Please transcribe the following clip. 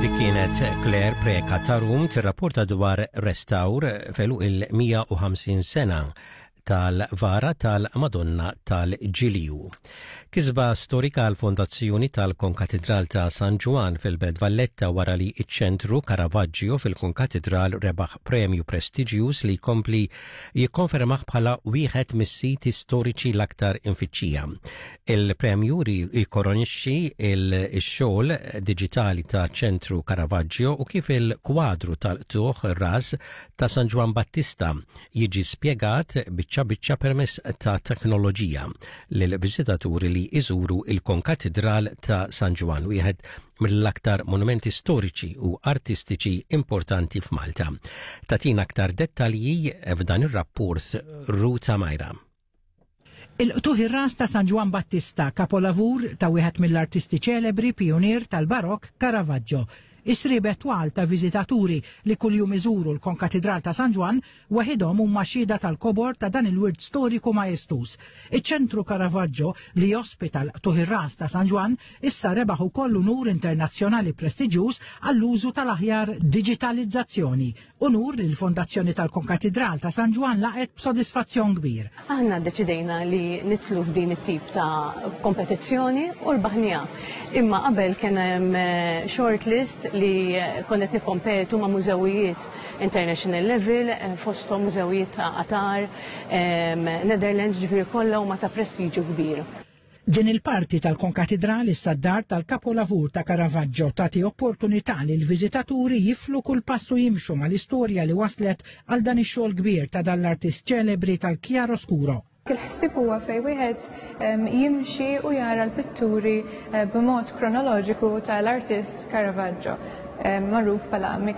Dik kienet Claire Preka Tarum tirrapporta dwar restawr felu il-150 sena tal-vara tal-Madonna tal-Ġilju. Kisba storika għall-fondazzjoni tal-Konkatidral ta' San Ġwann fil-Belt Valletta wara li ċ-Ċentru Caravaggio fil-Konkatidral rebaħ premju prestiġjuż li jkompli jikkonfermah bħala wieħed mis-siti storiċi l-aktar imfittxija. Il-premju jikoronixxi x-xogħol diġitali ta' Ċentru Caravaggio u kif il-kwadru tal-qtugħ ras ta' San Ġwann Battista jiġi spjegat biċċa biċċa permezz ta' teknoloġija lill-viżitaturi li jżuru l-Konkatidral ta' San Ġwann, wieħed mill-aktar monumenti storiċi u artistiċi importanti f'Malta. Tagħtina aktar dettalji f'dan ir-rapport Ruta Majra. Il-qtugħ ir-ras ta' San Ġwann Battista, kapolavur ta' wieħed mill-artisti ċelebri pijunier tal-Barokk Caravaggio. Is-sriebet twal ta' viżitaturi li kuljum iżuru l-Konkatidral ta' San Ġwann waħidhom huma xhieda tal-kobor ta' dan il-wirt storiku majestuż. Iċ-Ċentru Caravaggio li jospita l-qtugħ ir-ras ta' San Ġwann issa rebaħ ukoll unur internazzjonali prestiġjuż għall-użu tal-aħjar diġitalizzazzjoni. Unur li l-Fondazzjoni tal-Konkatidral ta' San Ġwann laqgħet b'sodisfazzjon kbir. Aħna ddeċidejna li nidħlu f'din it-tip ta' kompetizzjoni u rbaħniha. Imma qabel kien hemm eh, short list li konna qed nikkompetu ma' mużewijiet international level, eh, fosthom mużewijiet ta' Qatar, Netherlands, ġifieri kollha huma ta' prestiġju kbir. Din il-parti tal-Konkatidral issa d-dar tal-kapolavur ta' Caravaggio tagħti opportunità lill-viżitaturi jiflu kull pass u jimxu mal-istorja li waslet għal dan ix-xogħol kbir ta' dan l-artist ċelebri tal-chiaroscuro. Il-ħsieb huwa fejn wieħed jimxi u jara l-pitturi b'mod kronoloġiku tal-artist Caravaggio, magħruf bħala.